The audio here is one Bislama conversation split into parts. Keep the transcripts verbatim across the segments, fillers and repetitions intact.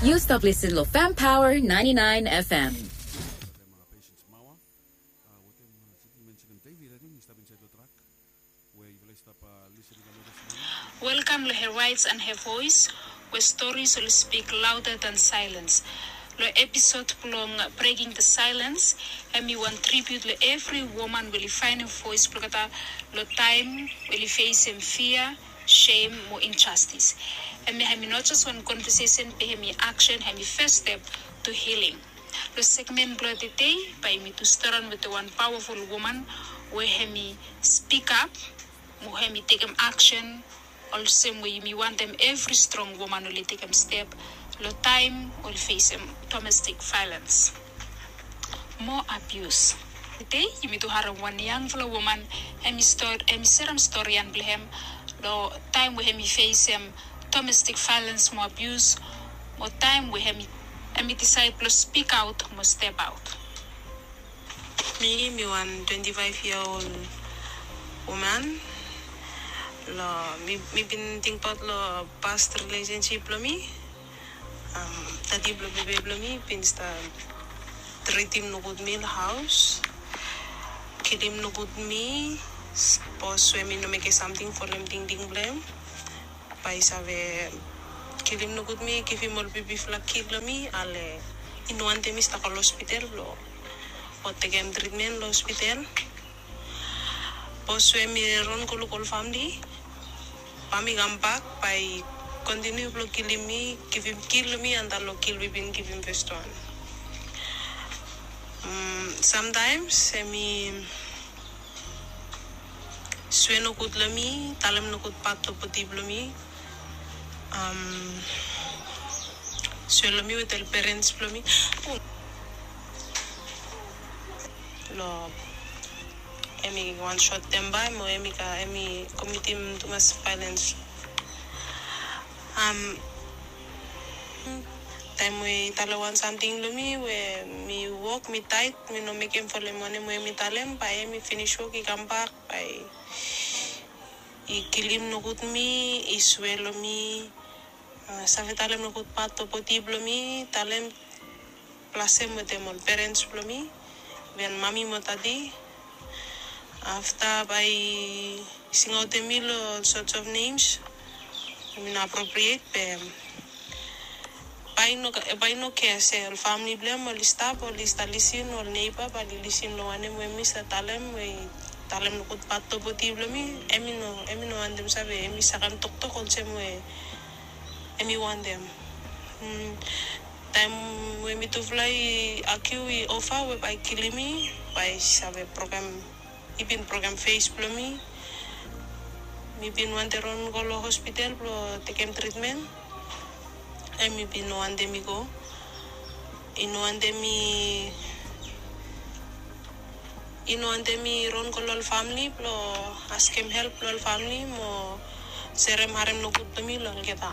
Yu stap listen lo Fam Power ninety-nine F M. Welkam lo Her Rights and Her Voice, we stories oli spik louder than silence. Lo episod blong Breaking the Silence, hemi wan tribute lo evri woman we oli faenem voes blo olgeta lo taem we oli fesem fia, sem mo injastis. Hemia hemi no jes wan conversation be hemi action, hemi first step to healing. Lo segment blo tede bae yumi tu storian wetem wan powerful woman we hemi speak up mo hemi tekem action olsem we yumi wantem evri strong woman oli tekem step lo taem oli fesem domestic violence mo abuse. Tede yumi tu harem wan yangfala woman hemi serem storian blo hem lo taem we hemi fesem domestic violence mo abuse mo taem we hemi disaed blo spik aot mo step aot. Mi mi wan twenti faef yia ol woman. Lo mi bin tingbaot lo past relationship blo mi. Dadi blo bebe blo mi bin stap tritim nogud mi lo haos, kilim nogud mi. Sapos we mi no mekem samting folem tingting blo hem, bae i save kilim nogud mi, givim ol bibifala kik lo mi. Ale i no wantem mi stap go lo hospital blo tekem tritmen lo hospital. Sapos we mi ron go luk ol famle, bae mi kambak bae i kontiniu blo kilim mi, givim kik lo mi antap lo kik we i bin givim feswan. Samtaems hemi swe nogud lo mi, talem nogud pat lo bodi blo mi, swe lo mi wetem ol perens blo mi. Lo hemi wan sot tempa mo hemi komitim tumas vaelens. Taem we i talem wan samting lo mi we mi wok mi taet, mi no mekem folem wanem we mi talem, bae hemi finis wok i kambak bae i kilim nogud mi, i swe lo mi, save talem nogud pat lo bodi blo mi, talem, blasem wetem ol perens blo mi, even mami mo dadi. Afta bae i singaotem mi lo ol sorts of names we i no appropriate be bae i no kea se ol famle blo hem oli stap, oli stap lisin, ol neiba bae oli lisin lo wanem we mi stap talem, we i talem nogud pat lo bodi blo mi. Hemi no wantem save, hemi sakan toktok olsem we hemi wantem. Taem we mitufala i agiu, i ofa we bae i kilim mi, bae i save brokem, i bin brokem fes blo mi. Mi bin wantem ron go lo hospital blo tekem tritmen. Hemi bin no wantem mi go. I no wantem mi i no wantem mi ron go lo ol famle blo askem help lo ol famle mo serem harem nogud blo mi lo olgeta.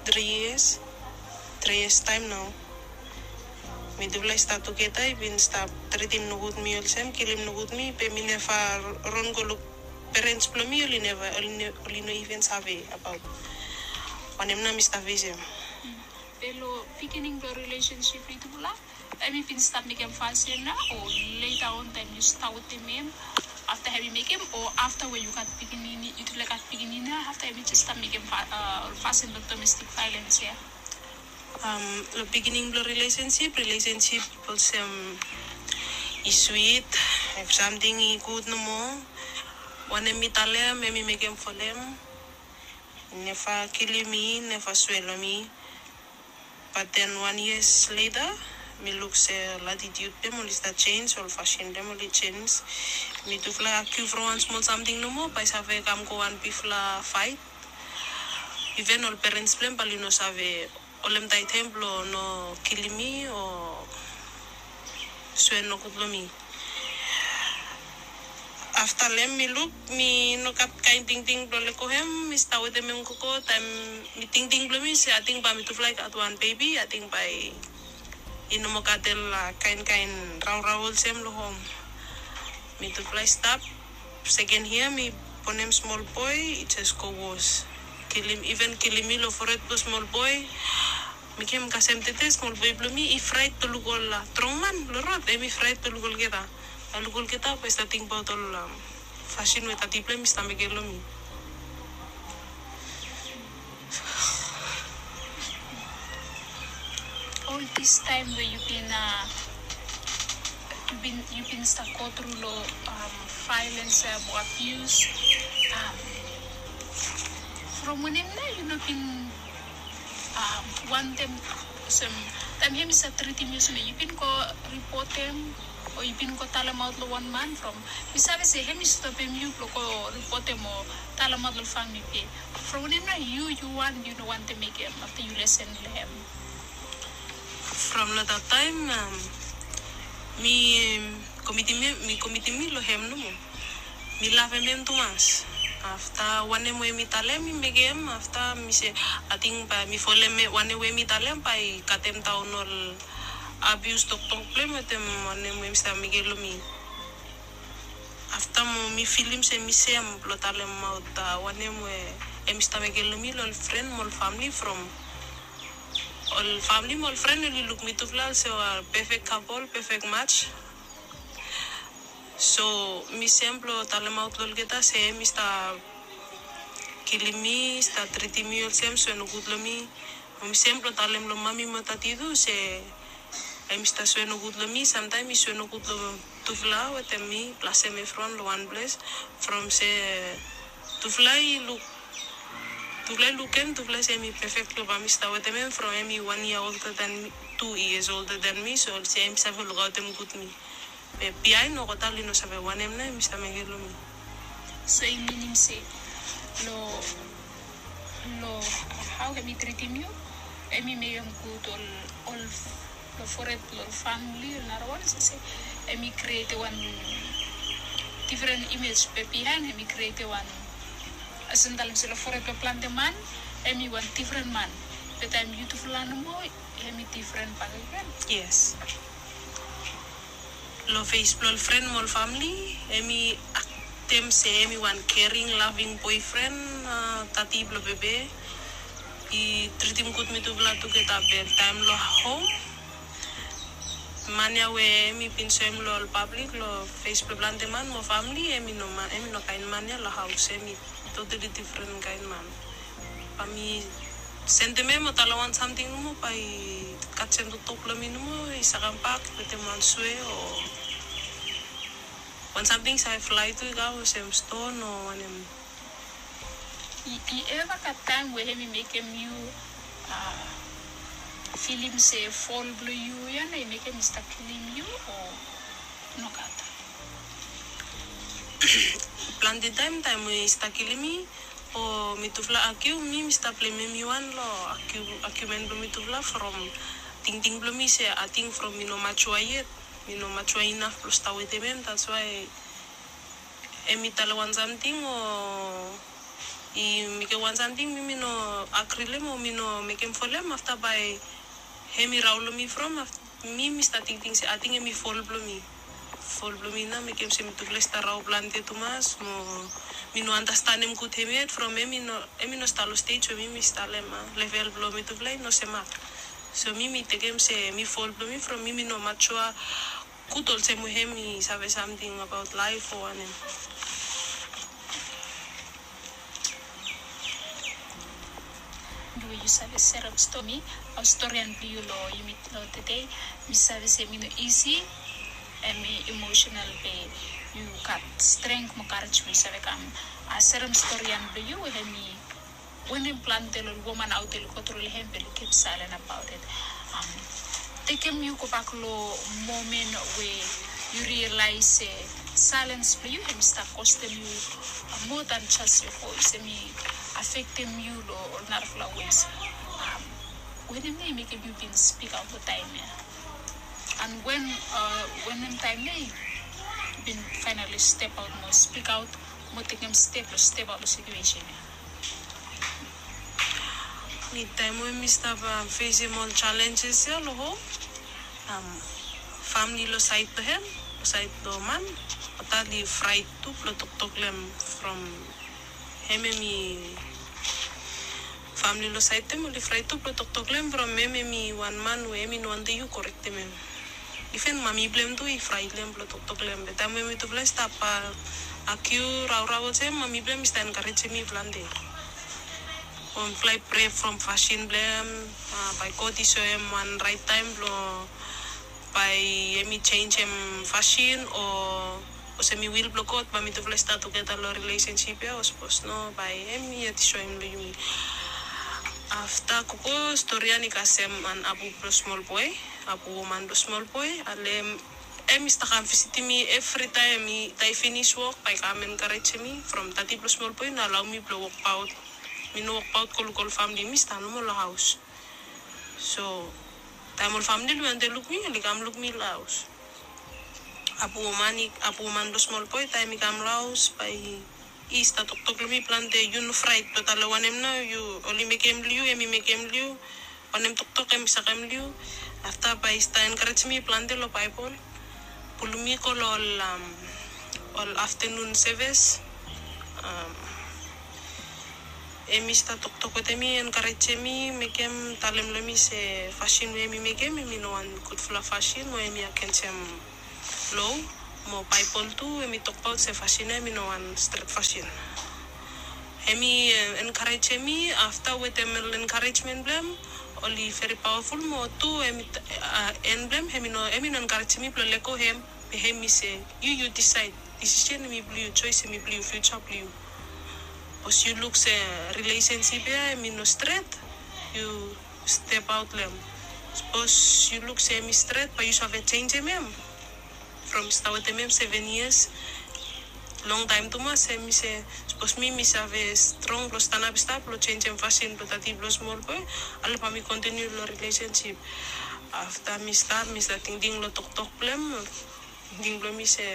Tri yias, tri yias taem nao. Mitufala i stap tugeta, i bin stap tritim nogud mi olsem, kilim nogud mi, be mi neva ron go luk perens blo mi, oli neva, oli no iven save abaot wanem nao mi stap fesem. Be lo beginning blo relationship blo yutufala, hemi bin stap mekem fasin nao, o leta on taem yu stap wetem hem, afta hemi mekem, o afta we yu gat pikinini, yutufala i gat pikinini nao, afta hemi jes stap mekem fasin lo domestic violence ia? Lo beginning blo relationship, relationship olsem i swit, if samting i gud nomo, wanem mi talem hemi mekem folem. I neva kilim mi, i neva swe lo mi. But then wan yias leta mi luk se ol attitude blo hem oli stap jenis, ol fasin blo hem oli jenis. Mitufala agiu from wan smol samting nomo bae i save kam go wan bigfala faet. Iven ol perens blo hem bae oli no save holem taet hem blo no kilim mi o swe nogud lo mi. Afta lo hem mi luk mi no gat kaen tingting blo lego hem, mi stap wetem hem gogo, taem mi tingting blo mi se ating bae mitufala i gat wan bebi, ating bae i no moa gat ol kaenkaen raorao olsem lo hom. Mitufala i stap Seken yia mi bonem smol boe, i jes go wos. Kilim, iven kilim mi lo fored blo smol boe. Mekem kasem tede smol boe blo mi i fraet blo luk ol, a, strong man lo rod, hemi fraet blo luk olgeta. A, luk olgeta bae i stap tingbaot ol, am, fasin we tati blo hem i stap mekem lo mi. Ol dis taem we yu bin, a, yu bin, yu bin stap go tru lo, am, vaelens, am, o abius, am, from wanem nao yu no bin, am, wantem olsem, taem hem i stap tritim yu olsem, yu bin go ripotem o yu bin go talemaot lo wan man from, mi save se hem i stopem yu blo go ripotem o talemaot lo famle be. From wanem nao yu, yu wan, yu no wantem mekem afta yu lesen lo hem? From lo that taem, am, mi komitim, mi komitim mi lo hem nomo. Mi lavem hem tumas. Afta wanem we mi talem mi mekem, afta mi se, ating bae mi folem wanem we mi talem bae i katemdaon ol abius toktok blo hem wetem wanem we hem i stap mekem lo mi. Afta mo mi filim se mi sem blo talemaot, a, wanem we hem i stap mekem lo mi lo ol fren mo ol famle from ol famle mo ol fren oli luk mitufala olsem ol perfect couple, perfect match. So mi sem blo talemaot lo olgeta se hem i stap kilim mi, stap tritim mi olsem sue nogud lo mi. Mi sem blo talem lo mami mo tati tu se hem i stap sue nogud lo mi, samtaem i sue nogud lo tufala wetem mi, plasem evriwan lo wan ples. From se tufala i luk, tufala i lukem, tufala se hem i perfect lo bae mi stap wetem hem from hem i wan yia older than mi, two years older than mi, so se hem i save lukaotem gud mi. Be biaen olgeta oli no save wanem nao hem i stap mekem lo mi. So i minim se lo, lo hao hem i tritim yu, hem i mekem gud ol, ol lo fored blo ol famle, ol narawan, se, se hem i krietem wan difren imej, be biaen hem i krietem wan, olsem talem se lo fored blo plante man hem i wan difren man. Be taem yutufala nomo hem i difren bakegen. Yes. Lo fes blo ol fren mo ol famle, hem i aktem se hem i wan caring, loving boyfriend, a, tati blo bebe. I tritim gud mitufala tugeta, be taem lo hom, man ya we hem i bin soem lo ol pablik lo fes blo plante man mo famle, hem i no man, hem i no kaen man ya lo haos, hem i totally difren kaen man. Bae mi sendem hem o talem wan samting nomo, bae i kasem toktok blo mi nomo, i save kambak wetem wan sue o wan samting i save flae tu i kam olsem ston o wanem. I, i eva gat taem we hem i mekem yu, a, filim se fol blo yu ya nao i mekem i stap kilim yu o nogat? Plante taem, taem we i stap kilim mi o mitufala agiu, mi, mi stap blemem mi wan lo agiu, agiumen blo mitufala from tingting blo mi se ating from mi no matua yet, mi no matua inaf blo stap wetem hem, that's why hem i talem wan samting o i mekem wan samting, mi, mi no agri lo hem o mi no mekem folem, afta bae hem i raon lo mi from, afta mi, mi stap tingting se ating hem i fol blo mi. Fol blo mi nao mekem se mitufala i stap raon plante tumas mo mi no andastanem gud hem yet from hem i no, hem i no stap lo stej we mi, mi stap lo hem, a, level blo mitufala i no semak. So mi, mi tekem se hem i fol blo mi from mi, mi no matua gud olsem we hem i save samting abaot laef o wanem. Yu save serem stori, a, storian blo yu lo yumi lo tede, mi save se hem i no isi, hem i emotional be yu gat strength mo courage mo yu save kam, a, serem storian blo yu, hem i wanem plante lo ol woman aot oli go tru lo hem be oli kip silent about it. Am, tekem yu gobak lo momen we yu realize se silence blo yu hem i stap kostem yu, a, more than just your voice, hem i affectem yu lo ol narafala ways. Am, wanem nao i mekem yu bin speak out lo taem ya? And when, a, wanem taem nao yu bin finally step out mo speak out mo tekem step lo step out lo situation ya? Mi, taem we mi stap, a, fesem ol challenges ya lo hom, am, famle lo saed blo hem, lo saed long man, oli fraet tu blong toktok long hem from hem, hemi famili long saed blong hem oli fraet tu blong toktok long hem from hem hemi wan man we hemi no wantem yu korektem hem. Iven mami blong hem tu i fraet long hem blong toktok long hem. Be taem we mitufala i stap akiu raorao olsem, mami blong hem i stap enkarejem mi plante. Bae mifala i prea from fasin blong hem, bae God i soem wan raet taem blong bae hemi jenjem fasin o olsem i wil blong God bae mitufala i stap tugeta long rilesensip ya o sapos no bae hemi yet i soem long yumi. Afta gogo stori ya i kasem wan abu blong smol boe, abu woman blong smol boe, ale hem i stap kam visitim mi evritaem. Taem i finis wok bae i kam enkarejem mi from tati blong smol boe i no alaoem mi blong wokbaot. Mi no wokbaot go luk ol famili, mi stap nomo long haos. So taem ol famili oli wantem luk mi oli kam luk mi long haos. Abu woman blong smol boe taem i kam long haos bae i stap toktok long mi plante, yu no fraet, no tale wanem nao, yu oli mekem long yu, hemi mekem long yu, wanem toktok hemi sakem long yu. Afta bae i stap enkarejem mi plante long Baebol, pulum mi go long ol aftenun sevis. Hemi stap toktok wetem mi, enkarejem mi, mekem, talem long mi se fasin we hemi mekem hemi no wan gudfala fasin o hemi agensem loa. Mo Baebol tu hemi tokbaot se fasin ya hemi no wan stret fasin. Hemi enkarejem mi. Afta wetem ol enkarejemen blong hem oli veri paoaful, mo tu hemi en blong hem hemi no enkarejem mi blong lego hem. Be hemi se yu, yu disaed, disisen hemi blong yu, joes hemi blong yu, fiuja blong yu. Sapos yu luk se rilesensip ya hemi no stret, yu stepaot long hem. Sapos yu luk se hemi stret bae yu save jenjem hem. From mi stap wetem hem seven years, longtaem tumas. Hemi se sapos mi mi save strong blong stanap i stap blong jenjem fasin blong tati blong smol boe, ale bae mi kontiniu long rilesensip. Afta mi stap, mi stap tingting long toktok blong hem. Tingting blong mi se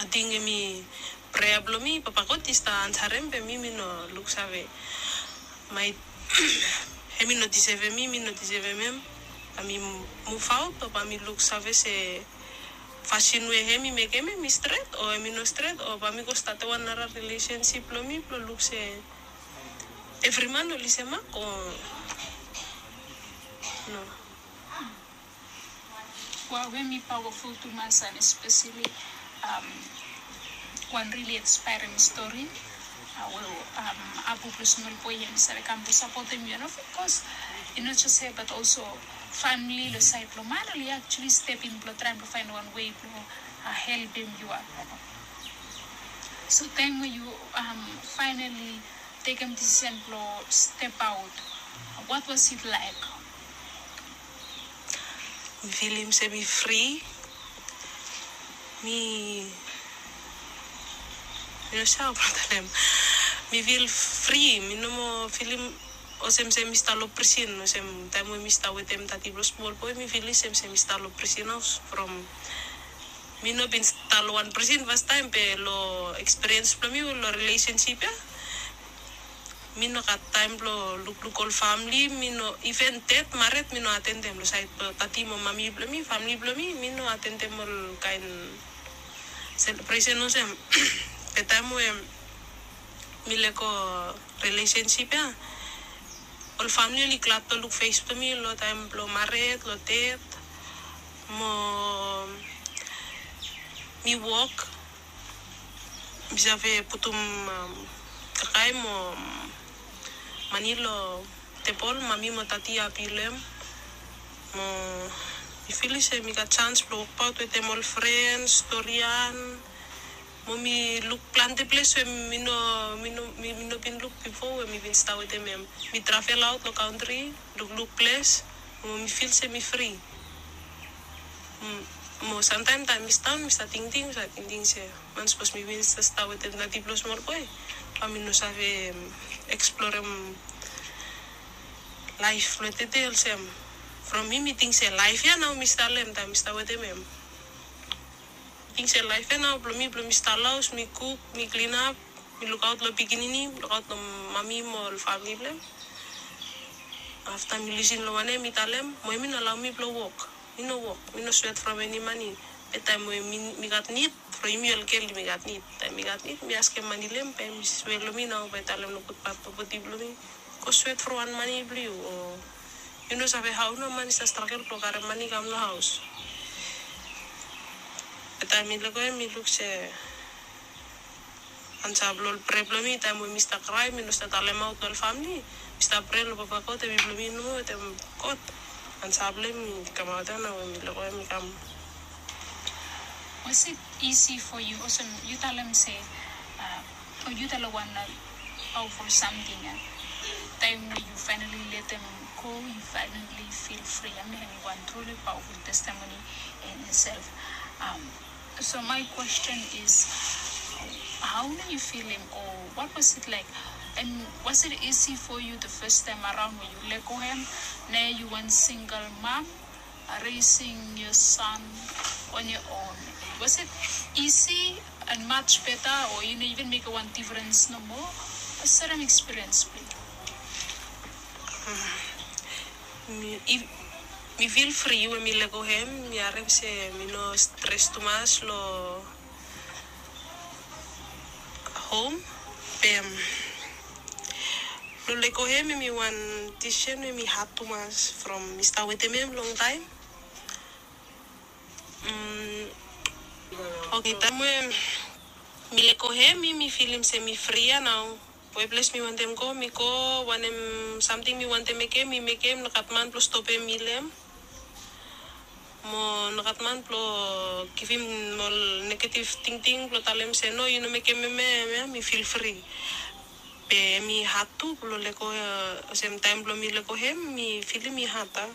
ating hemi prea blong mi Papa God i stap ansarem, be mi mi no luksave. Hemi no disevem mi, mi no disevem hem. Bae mi muvaot o bae mi luksave se fasin we hemi mekem hemi stret o hemi no stret, o bae mi go statem wan nara rilesensip blong mi blong luk se evri man oli semak o no. Wow, hemi pawaful tumas and espeseli wan rili inspairing stori we abu blong smol boe hemi save kam blong sapotem yu. And of course i no jes hem, but also famili long saed blong man oli actually step in blong traem blong faenem wan wei blong helpem yu. So taem we yu faenali tekem disisen blong stepaot, what was it like? Mi filim se mi fri. Mi mi no save blong talem. Mi fil fri, mi no moa filim olsem se mi stap long prisin olsem taem we mi stap wetem tati blong smol boe. Mi filim olsem se mi stap long prisin haos from mi no bin stap long wan prisin fastaem, be long ekspiriens blong mi long rilesensip ya mi no gat taem blong lukluk ol famili. Mi no, iven ded, mared, mi no atendem long saed blong tati mo mami blong mi, famili blong mi, mi no atendem ol kaen selebresen olsem. Be taem we mi lego rilesensip ya, ol famili oli glad blong luk fes blong mi long taem blong mared, long ded. Mo mi wok, mi save putum kakae mo mane long tebol, mami mo tati i hapi long hem. Mo mi filim se mi gat janis blong wokbaot wetem ol frens, storian. Mo mi luk plante ples we mi no, mi no, mi no bin luk bifo we mi bin stap wetem hem. Mi travel aot long kantri, lukluk ples, mo mi fil se mi fri. Mo samtaem taem mi stap daon mi stap tingting, mi stap tingting se man sapos mi bin stap wetem tati blong smol boe, bae mi no save eksplorem laef blong tede olsem. From mi mi ting se laef ya nao mi stap long hem taem mi stap wetem hem. Mi ting se laef ya nao blong mi, blong mi stap long haos, mi kuk, mi klinap, mi lukaot long pikinini, lukaot long mami mo ol famili blong hem. Afta mi lisin long wanem hemi talem, mo hemi no alaoem mi blong wok. Mi no wok, mi no swet from eni mani. Be taem we mi, mi gat nid, from yumi olgel mi gat nid. Taem mi gat nid, mi askem mani long hem, bae mi swe long mi nao, bae talem nogud pae propeti blong mi. Go swet from wan mani blong yu, o yu no save hao nao man i stap stragel blong karem mani kam long haos. Be taem mi lego hem, mi luk se ansa blong ol prea blong mi, taem we mi stap krae, mi no stap talemaot long ol famili. Mi stap prea long Papa God, hemi blong mi nomo, wetem God. Ansa blong hem i kamaot ia nao we mi lego hem i kam. Was it easy for you? Olsem yu talem se, uh, o yu talem wan, uh, powerful samting ia. Taem we yu finally letem go, yu finally feel free. I mean, hemi wan truly powerful testimony in itself. Um, So my question is, how are you feeling, or what was it like? And was it easy for you the first time around when you lego hem? Now you one single mom, uh, raising your son on your own. Was it easy and much better, or you know, even make one difference no more? A certain experience, please. Mi, if, mi feel free we mi lego hem, mi harem se mi no stres tumas long hom. Be long lego hem, hemi wan decision we hemi had tumas from mi stap wetem hem long taem. Mm, okay, taem we mi lego hem, mi, mi filim se mi fri ia nao. Weples mi wantem go, mi go, wanem samting mi wantem mekem, mi mekem, nogat man blong stopem mi long hem. Mo nogat man blong givim ol negative tingting blong talem se no, yu no mekem hemia, hemia, mi feel free. Be hemi had tu blong lego, olsem taem blong mi lego hem, mi filim i had ia.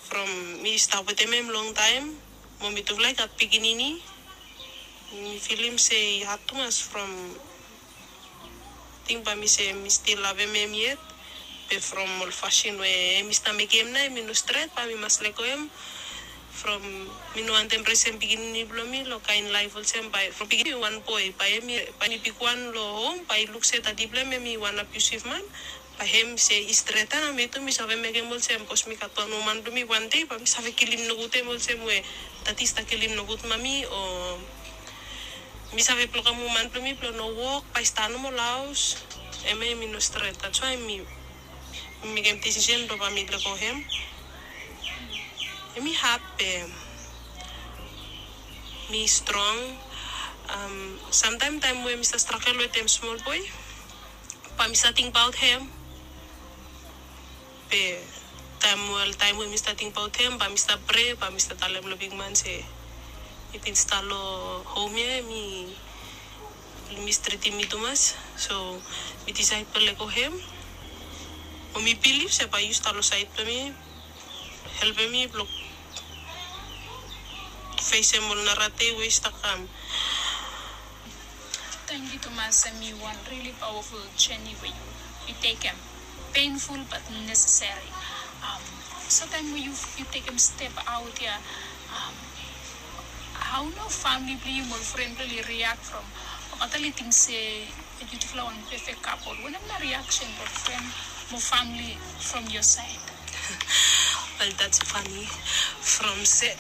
From mi stap wetem hem long taem, mo mitufala i gat pikinini. Mi filim se i had tumas from ting bae mi se mi stil havem hem yet. Be from ol fasin we hemi stap mekem nao, hemi no stret, bae mi mas lego hem. From mi no wantem resem pikinini blong mi long kaen laef olsem, bae from pikinini wan boe, bae hemi, bae hemi bigwan long hom, bae i luk se dadi blong hem hemi wan abusive man. Bae hem se i stret ia, mi tu mi save mekem olsem, bikos mi gat wan woman blong mi, wan dei bae mi save kilim nogud hem olsem we dadi i stap kilim nogud mami, o mi save blokem woman blong mi blong no wok, bae i stap nomo long haos. Hemia hemi no stret. That's why mi, mi mekem decision blong bae mi lego hem. Hemi had be mi strong. Um, samtaem taem we mi stap stragel wetem smol boe, bae mi stap tingbaot hem. Be taem, ol taem we mi stap tingbaot hem, bae mi stap prea, bae mi stap talem long bigman se i bin stap long hom ia, hemi mistretim mi tumas. So mi disaed blong lego hem. Mo mi bilif se bae yu stap long saed blong mi, helpem mi blong fesem ol nara dei we i stap kam. Tangkiu tumas, hemi wan really powerful journey we yu, yu tekem. Painful but necessary. Um, so taem we yu, yu tekem step aot ia, um, hao nao famili blong yu mo ol fren blong yu i react from? Olgeta oli ting se yutufala wan perfect couple. Wanem nao reaction blong fren mo famili from your side? Well, that's funny. From se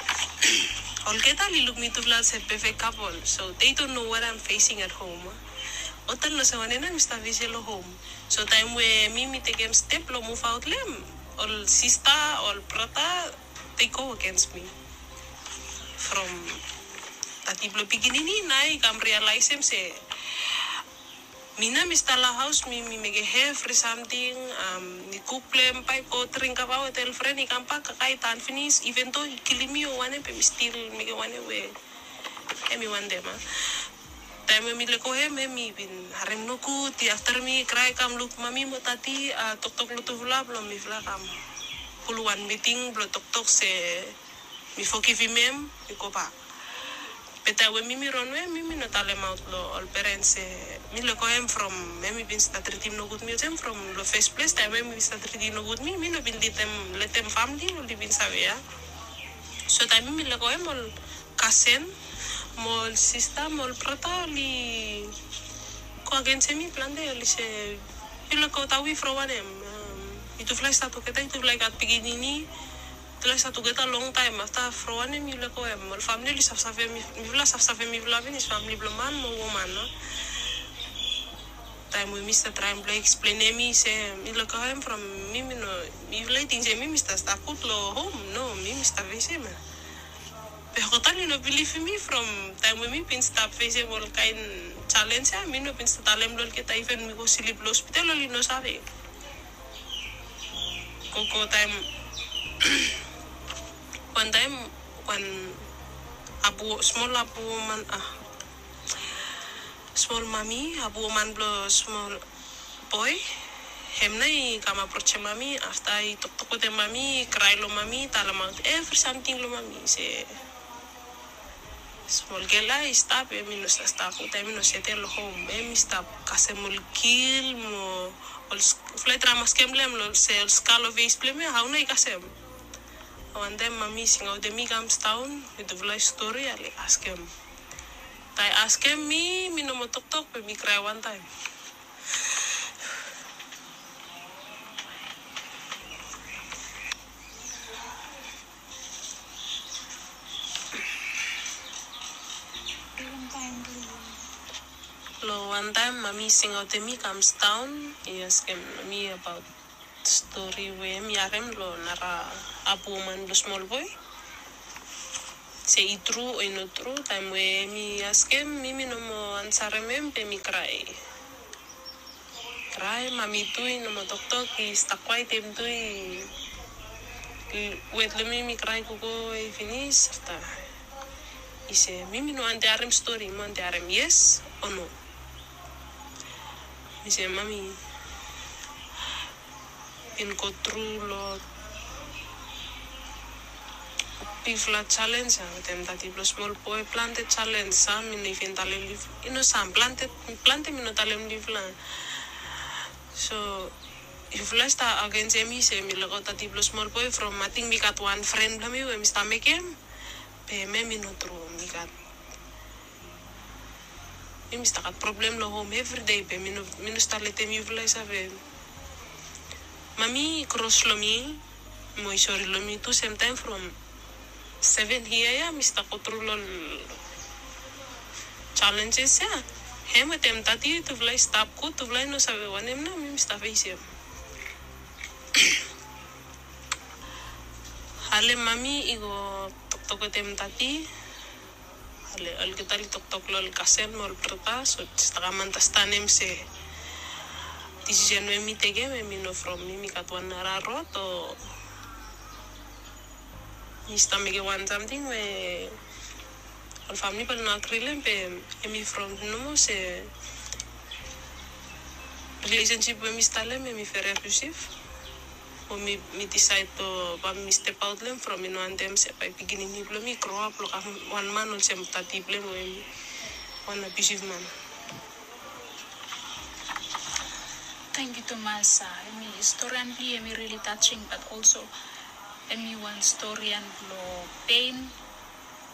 olgeta oli luk mitufala olsem perfect couple, so they don't know what I'm facing at home. Olgeta oli no save wanem nao mi stap fesem long hom. So taem we mi, mi tekem step blong muvaot long hem, ol sista, ol brata, they go against mi. From dadi blong pikinini nao i kam realaesem se mi nao mi stap long haos, mi, mi mekem evri samting, um, mi kuk blong hem, bae go dring kafa wetem ol fren, i kambak kakae i tan finis, even though i kilim mi o wanem, be mi stil mekem wanem we hemi wantem ia. Taem we mi lego hem, hemi bin harem nogud, i afta mi krae kam luk mami mo dadi, a, toktok long tufala blong mifala kam pulum wan miting blong toktok se mi fogivim hem, mi gobak. Be taem we mi, mi ronwe, mi, mi no talemaot long ol perens se mi lego hem from hemi bin stap tritim nogud mi olsem from long fes ples, taem we hemi bin stap tritim nogud mi, mi no bin letem, letem famili oli bin save ia. So taem mi, mi lego hem, ol kasen mo ol sista mo ol brata oli go agensem mi plante, oli se, yu lego Tawi from wanem? Um, yutufala i stap tugeta, yutufala i gat pikinini, Mifala i stap tugeta longtaem afta from wanem yufala go hem, ol famili oli safsafem, mifala safsafem mifala finis, famili blong man mo woman, no? Taem we mi stap traem blong eksplenem mi se mi luk hem from mi, mi no, mifala i ting se mi mi stap stap gud long hom. No, mi mi stap fesem ya. Be olgeta oli no bilivim mi from taem we mi bin stap fesem ol kaen jalenj ya. Mi no bin stap talem long olgeta, iven mi go slip long hospital oli no save. Gogo taem, wantaem wan abu, smol abu woman, a, smol mami, abu woman blong smol boe, hem nao i kam aprojem mami, afta i toktok wetem mami, i krae long mami, talemaot evri samting long mami se smol gel ya i stap, hem i no stap stap gud, hem i no setel long hom, hem i stap kasem ol gil mo ol, mifala i traem askem long hem se ol ska long fes blong hem ya, hao nao i kasem. Wantaem mami singaotem mi i kam sidaon wetem mifala i stori, oli askem. Taem i askem mi, mi no moa toktok be mi krae wantaem. Long wantaem mami singaotem mi i kam sidaon, i askem mi abaot stori we hem i harem long nara abu woman blong smol boe, se i tru o i no tru. Taem we hem i askem mi, mi no moa ansarem hem be mi krae. Krae, mami tu i no moa toktok, i stap kwaet, hem tu i wet long mi, mi krae gogo we i finis. Afta i se mi, mi no wantem harem stori, mi wantem harem yes o no. Mi se mami bin go tru long bigfala jalenj ya wetem dadi blong smol boe, plante jalenj, sam mi no even talem long yufala, i no sam, plante, plante mi no talem long yufala. So yufala i stap agensim mi se mi lukaot dadi blong smol boe from ating mi gat wan fren blong mi we mi stap mekem, be hem i no tru, mi gat Mi mi stap gat problem long hom evri dei be mi no, mi no stap letem yufala i save. Mami i kros long mi mo i sori long mi tu semtaem from seven yia ya mi stap go tru long jalenjes ya. Hem wetem dadi tufala i stap gud, tufala i no save wanem nao mi mi stap fesem. Ale mami i go toktok wetem dadi. Ale olgeta oli toktok long ol kasem mo ol brata, so oli stap kam andastanem se disisen we mi tekem hem i no from mi mi gat wan nara rod o mi stap mekem wan samting we ol famili bae oli no agri long hem, be hem i from nomo se rilesensip we mi stap long hem hem i veri abiusiv. Mo mi, mi disaed long bae mi stepaot long hem from mi no wantem se bae pikinini blong mi i groap long kam wan man olsem dadi blong hem we hem i wan abiusiv man. Tangkiu tumas. Hem i storian blong yu hem i rili tasing, bat olso hem i wan storian blong pen,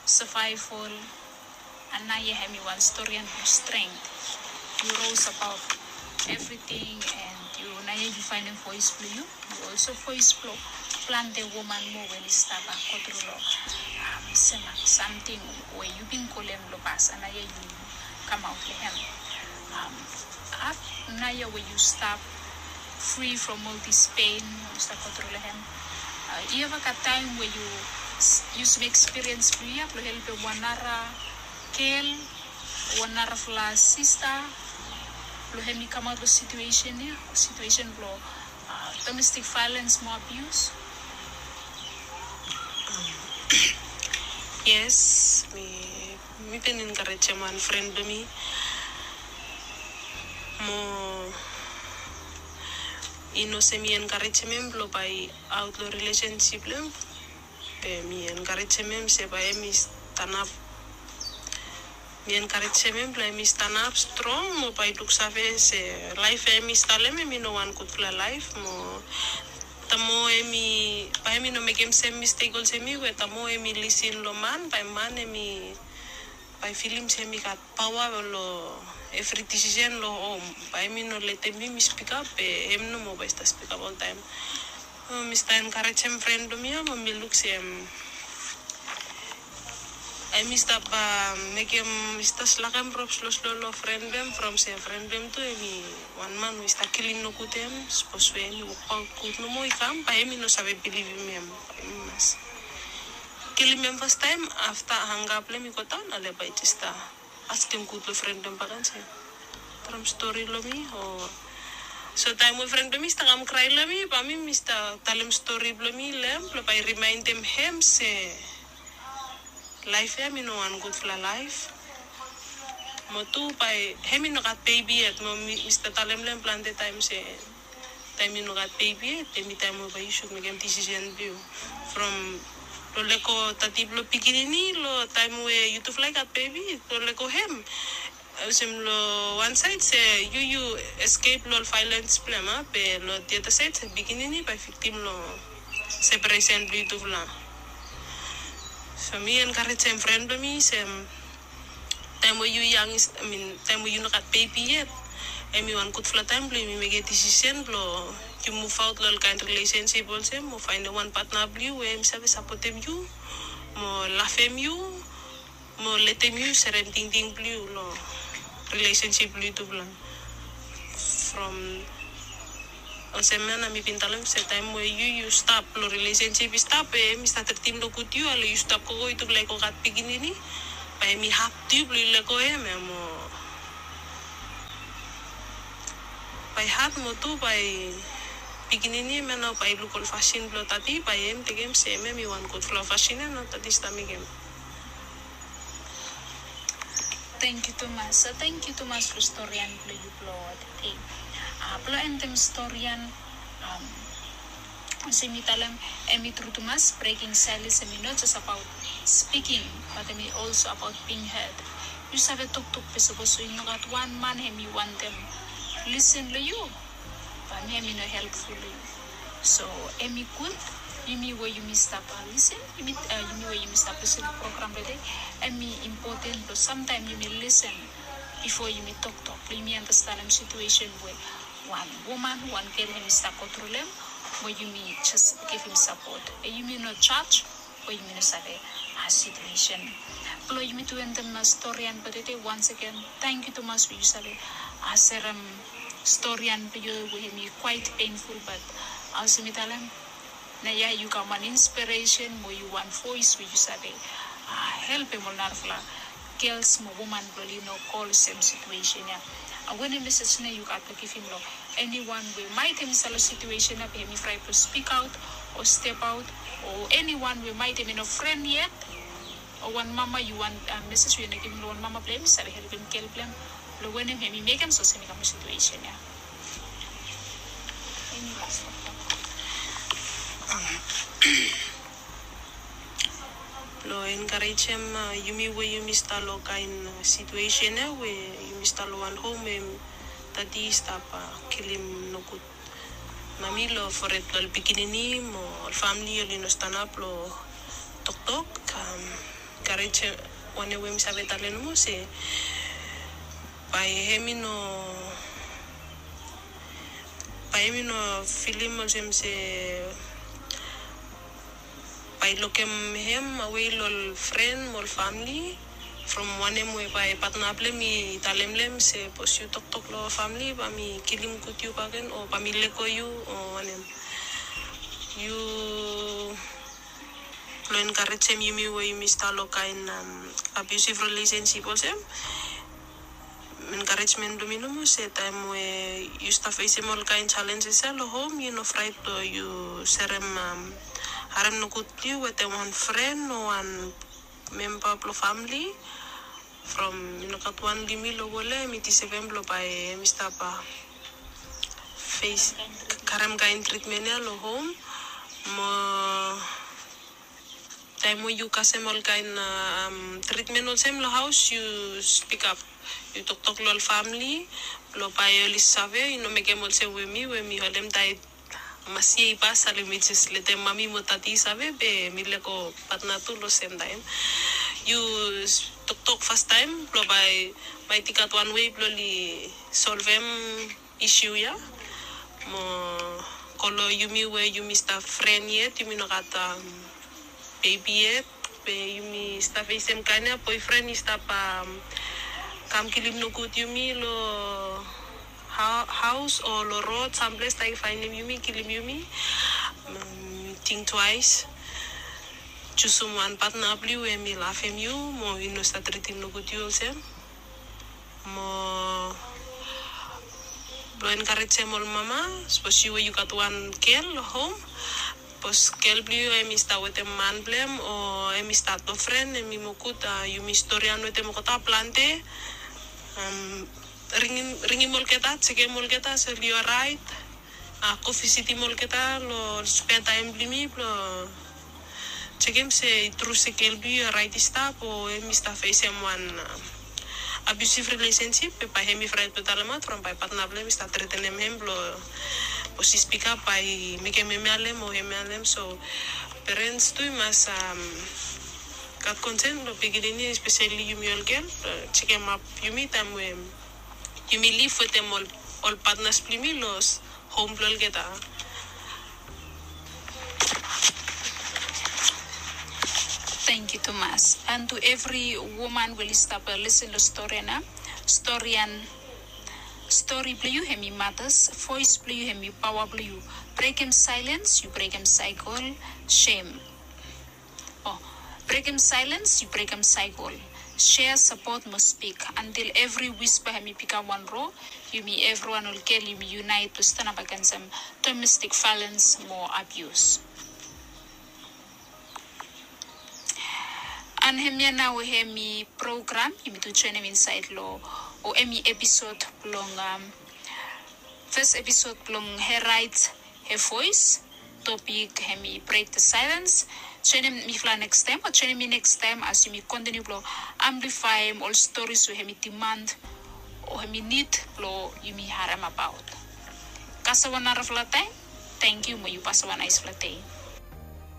savaeval. Anaia hem i wan storian blong strength. Yu rose abaot evriting, and yu naia yu faenem voes blong yu. Yu olso voes blong plante woman moa we oli stap go tru long sem samting we yu bin go long hem long pas. Anaia yu kamaot long hem. Afta naia we yu stap fri from ol dis pen we yu stap go tru long hem, yu eva gat taem we yu yusum ekspiriens blong yu ya blong helpem wan nara gel o wan narafala sista blong hem i kamaot long situesen ya o situesen blong domestik vaelens mo abius? Yes, mi mi bin enkarejem wan fren blong mi mo i no se mi enkarejem hem blong bae i aot long rilesensip blong hem, be mi enkarejem hem se bae hem i stanap. Mi enkarejem hem blong hem i stanap strong mo bae i luksave se laef we hem i stap long hem hem i no wan gudfala laef mo tamo hem i, bae hem i no mekem sem mistek olsem mi we tamo hem i lisin long man, bae man hem i, bae i filim se hem i gat paoa long evri disisen long hom. Bae hem i no letem mi mi spikap be hem nomo bae i stap spikap oltaem. Mi stap enkarejem fren blong mi ya, mo mi luk se em i stap mekem, mi stap slakem rop sloslo long fren blong em, from se fren blong em tu em i wan man we i stap kilim nogud em. Sapos we em i wokbaut gud nomo i kam, bae em i no save bilivim em. Em i mas kilim em fastaem, afta anga blong em i godaon, ale bae i jes stap askem gud long fren blong em bakegen se traem stori long mi o. So taem we fren blong mi i stap kam krae long mi, bae mi mi stap talem stori blong mi long em, blong bae i rimaendem hem se laef ya em i no wan gudfala laef. Mo tu bae hem i no gat bebi yet, mo mi mi stap talem long em plante taem se taem yu no gat bebi yet, em i taem we bae yu sud mekem disisen blong yu. From long lego tati blong pikinini long taem we yutufala i gat bebi, long lego hem, olsem long wan saed se yu yu eskep long ol vaelens blong em, a, be long the other side se pikinini bae viktim long separesen blong yutufala. So mi enkarejem fren blong mi se taem we yu yang, I mean, taem we yu no gat bebi yet, em i wan gudfala taem blong yumi mekem disisen blong yu muvaot long ol kaen rilesensip olsem, mo faenem wan patna blong yu we em i save sapotem yu, mo lavem yu, mo letem yu serem tingting blong yu long rilesensip blong yutufala. From olsem ya nao mi bin talem se taem we yu yu stap long rilesensip i stap, we em i stap tritim nogud yu, ale yu stap gogo, yutufala i go gat pikinini, bae em i had tu yu blong yu lego hem ya, mo bae i had, mo tu bae pikinini hem ya nao bae i luk ol fasin blong tati, bae hem tekem se hem ya em i wan gudfala fasin ya nao tati i stap mekem. Tangkiu tumas, tangkiu tumas long storian blong yu blong tede. Blong endem storian, olsem mi talem, hem i tru tumas, breking silence hem i no jes abaot speaking, bat hem i also abaot being heard. Yu save toktok, be sapos we i no gat wan man hem i wantem lisen long yu, bae hem i no helpful long yu. So hem i gud yumi we yumi stap lisen, yumi we yumi stap lisen long program tede, hem i impoten blong samtaem yumi lisen bifo yumi toktok, blong yumi andastanem situesen we wan woman, wan gel hem i stap gotru long hem, we yumi jes givim sapot. Be yumi no jaj, we yumi no save situesen. Blong yumi tu endem storian blong tede, once again tangkiu tumas we yu save serem storian blong yu we hem i quite painful, bat olsem mi talem, naoia yu kam wan inspiresen mo yu wan voes we yu save helpem ol narafala gels mo woman blong oli no go long sem situesen ya. Wanem mesej nao yu gat blong givim long eniwan we maet hem i stap long situesen ya be hem i fraet blong spikaot o stepaot, o eniwan we maet hem i no fren yet, o wan mama, yu wan mesej we yu no givim long wan mama blong hem i save helpem gel blong hem, blong wanem hem i mekem sapos hem i kam long situesen ya? Blong enkarejem yumi we yumi stap long kaen situesen ya we yumi stap long wan hom we tati i stap kilim nogud mami long fored blong ol pikinini mo ol famili oli no stanap blong toktok. Enkarejem wanem we mi save talem nomo se bae hem i no, bae hem i no filim olsem se bae i lokem hem awe long ol fren mo ol famili. From wanem we bae patna blong hem i talem long hem se sapos yu toktok long famili bae mi kilim gud yu bakegen o bae mi lego yu o wanem. Yu blong enkarejem yumi we yumi stap long kaen abusive rilesensip olsem, enkarejmen blong mi nomo se taem we yu stap fesem ol kaen jalenjes ya long hom, yu no fraet blong yu serem harem nogud blong yu wetem wan fren o wan memba blong famili. From i no gat wan long yumi long wol ya hem i disevem blong bae hem i stap fes karem kaen tritmen ya long hom. Mo taem we yu kasem ol kaen tritmen olsem long haos, yu spikap, yu toktok long ol famili blong bae oli save, i no mekem olsem we mi we mi holem taet masia i pas, ale mi jes letem mami mo tati i save be mi lego patna tu long sem taem. Yu toktok fastaem blong bae maet i gat wan wei blong oli solvem isiu ya. Mo Go long yumi we yumi stap fren yet, yumi no gat bebi yet, be yumi stap fesem kaen ya boefren i stap kam kilim nogud yumi long haos o long rod samples, taem i faenem yumi, kilim yumi. Ting twaes, jusum wan patna blong yu we hem i lavem yu mo i no stap tritim nogud yu olsem. Mo blong enkarejem ol mama, sapos yu we yu gat wan gel long hom, sapos gel blong yu hem i stap wetem man blong hem o hem i stap nofren, hem i mo gud yumi storian wetem olgeta plante. Ringim olgeta, jekem olgeta se oli oraet. Go visitim olgeta long spare taem blong yumi blong jekem se i tru se gel blong yu i oraet i stap o hem i stap fesem wan abusive relationship, be bae hem i fraet blong talemaot from bae patna blong hem i stap tretenem hem blong, sapos i spikap bae i mekem hem i halem o hem i halem. So perens tu i mas gat konsen long pikinini, espeseli yumi ol gel, blong jekemap yumi taem we yumi liv wetem ol patnas blong yumi long hom blong olgeta. Tangkiu tumas. And to evri woman we oli stap lisen long storian ya, storian, stori blong yu hem i matas, voes blong yu hem i paoa blong yu. Brekem saelens, yu brekem saekol. Sem. O, brekem saelens, yu brekem saekol. Sea, sapot mo spik antil evri wispa hem i bikam wan ro. Yumi evriwan ol gel yumi yunaet blong stanap agensem domestik vaelens mo abius. And hemia nao hemi program yumi tu joenem insaed long, o hemi episod blong, fes episod blong Her Rights, Her Voice. Topik hemi Break the Silence. Joenem mifala nekstaem o joenem mi nekstaem as yumi kontiniu blong amplifaem ol stories we hemi diman o hemi nid blong yumi harem abaot. Kasem wan narafala taem. Tangkiu mo yu pasem wan naesfala dei.